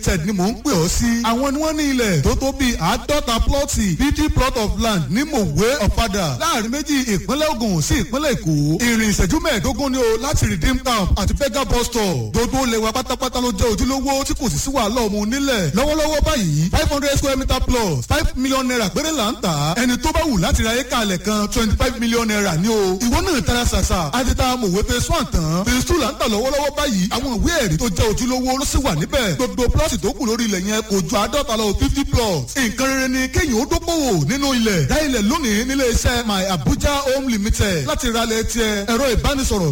Limited ni mò ń pè ọ́ sí. Àwọn ni wọ́n ní ilẹ̀ tó tó bíi 50 plot, 50 plot of land ní Mòwe, Ọ̀fadà, láàrin méjì ìpínlẹ̀ Ògùn sí ìpínlẹ̀ Èkó. Ìrìn ìṣẹ́jú 15 ni o láti Redeem Camp àti Fega bus stop. Gbogbo ilẹ̀ wa pátápátá ló jẹ́ ojúlówó tí kò sì sí wàhálà ọmọ onílẹ̀. Lọ́wọ́lọ́wọ́ báyìí, 500 square meter plus ₦5 million péré là ń tà á. Ẹni tó bá wù láti ra éka alẹ̀ kan, ₦25 million ní o. Ìwọ náà tara ṣàṣà àti ta Mòwe phase one tán. Phase two là ń tà lọ́wọ́lọ́wọ́ báyìí. Àwọn ìwé ẹ̀rí tó jẹ́ ojúlówó ló sì wà níbẹ̀. Gbogbo plot tó kù lórí ilẹ̀ yẹn kò ju 50 lọ, 50 plots. Nǹkan rere ni kéèyàn ó dókòwò nínú ilẹ̀. Dá ilẹ̀ lónìí nílé iṣẹ́ My Abuja Home Limited láti ralẹ̀ tiẹ̀. Ẹ̀rọ ìbánisọ̀rọ̀